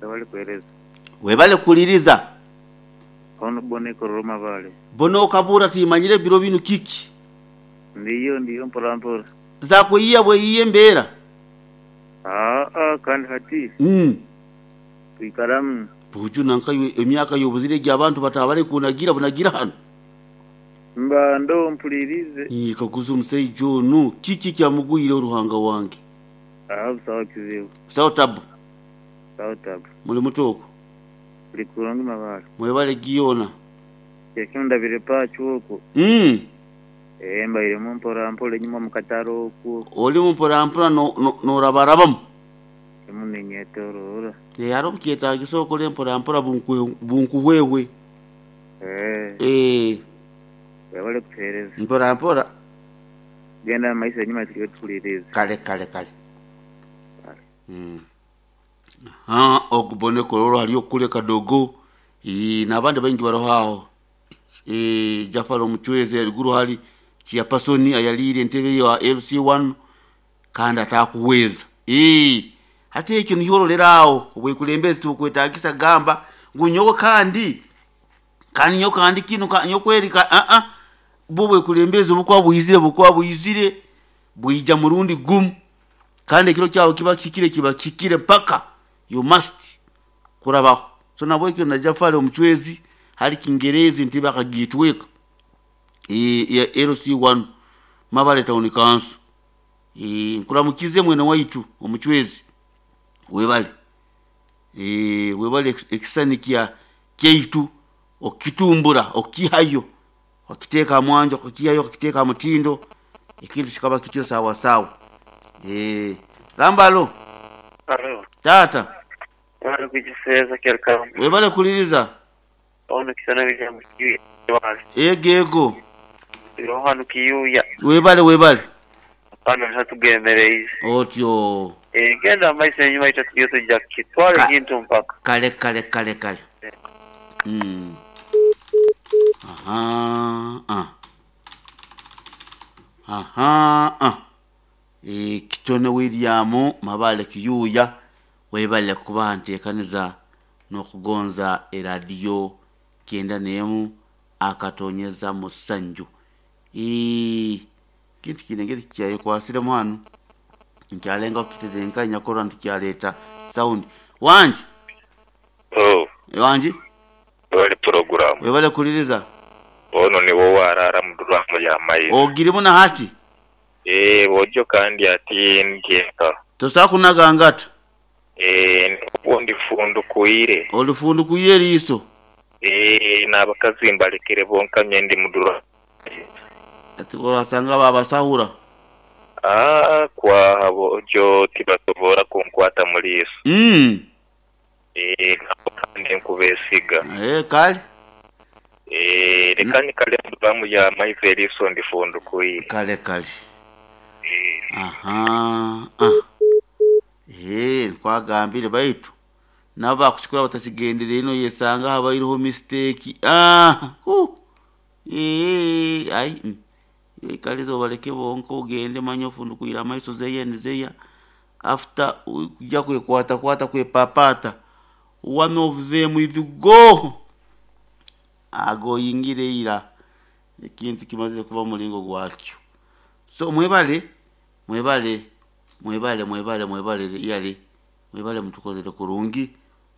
Webale kuwereza. Webale kuwuliriza. Ono Boney Kololo Mabale. Boney okabura timanyire biro binu kiki? Ndiyo ndiyo mpola mpola. Zakweyiya bweyiya embeera? Aa kandi hati twikaramu. Buju nanka iwe emyaka y'obuzire egi abantu batabare kunagira bunagira hanu. Mba ndoho mpulirize. Kaguza omusaija onu kiki ekyamugwireho Ruhanga wange. Aa busaho kizibu. Busaho tabu. Busaho tabu. Muli muta okwo? Tuli kurungi Mabale. Mwebale giyoona. Ekyo ndabire paacu okwo. Eeh mbairemu mpora mpora enyuma omu katare okwo. Olimu mpora mpora n'orabarabamu. Ndimu ninyetoroora. Eeh hariho obukyetagisa okole mpora mpora bunkuhwehwe. Eeh. Webale kutuhereza. Mpora mpora. Genda mu maiso enyuma turiyo tukuliriize. Kale kale kale. Ahaa ogu Boney Kololo hariyo kule Kadogo n'abandi baingi baroho aho. Jafari Omuchwezi eriguru hali chairperson ayaliire entebe ya LC1 kandi atakuhweza. Hati ekyo niho ororera aho obwekulembezi tibukwetagisa kugamba ngu nyowe kandi kandi nyowe kandi kinu nyowe kweri aa bwo obwekulembezi obukuba bwizire bukuba bwizire bwija murundi gumu kandi ekiro kyawe kiba kihikire kiba kihikire mpaka you must kurabaho. So nahabwekyo na Jafari Omuchwezi hali Kingerezi entebe akagitweka eya LC1 Mabale Town Council. Nkuramukize mwene waitu Omuchwezi webale webale ekisisani kyaitu okukitumbura okukihayo okakiteeka aha mwanjo okakihayo okakiteeka aha mutindo ekintu kikaba kityo sawa sawa. Gamba alo. Alo. Taata. Webale kugiseeza Kyarikamba. Webale kuliriza. Ono Kisana Bigambo Kiyuya webale. Ego ego. Turiho hanu Kiyuya. Webale webale. Hanu niho tugemereize. Otyo. Genda mu maiso enyuma itwe turiyo tuja kukitwara ekintu mpaka. Kale kale kale kale. Ahaa. Ahaa. Kitone William Mabale Kiyuya webale kuba ntekaniza n'okugonza eradiyo kyenda n'emu akatonyeza musanju. Ekintu kino engeri kikyayekwasiremu hanu nkyalengaho kukitetenkanya kurora nti kyaleeta sound. Wangi? Oh. Wangi? Webale pulogulaamu. Webale kuwuliriza. Ono ni wo owaraara mu dulaamu ya maizi. Ogirimu na hati? Eeh, bwojo kandi ati ndi eka. Tosobola kunaga ngata? Eeh, obwo ndifundukwire. Olifundukwire eriiso? Eeh, n'abakazi mbalekere bonka me ndi mu dulaamu ya maizi. Ati orasanga baabasahura? Aah, kwaha bwojo tibasobola kunkwata mu liiso. Eeh, nabo kandi nkubeesiga. Eeh, kale. Eeh, leka nyikale mu dulaamu ya maizi eriiso ndifundukwire. Kale kale. Eeh. Ahaa. Eeh, nkwagambire baitu nabo baakukikora batakigendereire noyesanga habaireho mistake. Aah, huh! Eeh, ayi iwe ikaliza obaleke bonka ogende manya ofundukwire amaiso zeya ni zeya after kuja kwekwatakwata kwepapaata one of them is go! Ago oyingire ira ekintu kimazire kuba muringo gwakyo. So mwebale, mwebale, mwebale, mwebale, mwebale really, mwebale mutukozere kurungi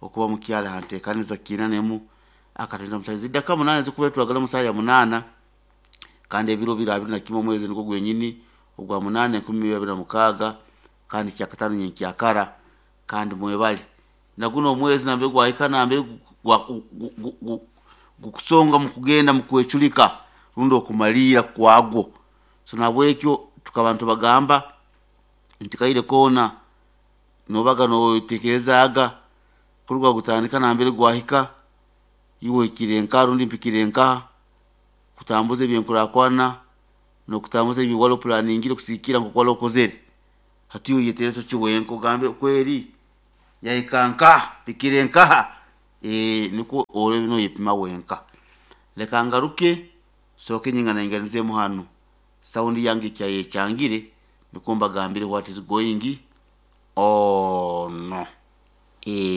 okuba mukyali aha nteekaniza kiina n'emu akatonyeza musanju. Zidaka munaana ezirikuba twagala omu saaha ya munaana kandi ebiro biri abiri na kimwe omwezi nigwo gwenyini ogwa munaana enkumi ibiri abiri na mukaaga kandi kyakataano nyenkyakara kandi mwebale. Na guno omwezi nambere gwahika nambere gukusonga mukugenda mukwecurika rundi okumaliira kwagwo. So nahabwekyo tukaba nitubagamba nti kaire koona noobaga nootekerezaaga kuruga gutandika nambere gwahika iwe ohikire nkaha rundi mpikire nkaha kutambuza ebyenkurakurana n'okutambuza ebi wali opulaningire kusigikiira nk'oku wali okozere. Hati iwe oyeteereze oti wenka ogambe kweri yahika nkaha, mpikire nkaha, nikwo orebe noyepima wenka. Leka ngaruke nsooke nyinganainganizeemu hanu sound yange ekyayekyangire nikwo mbagambire what is going on.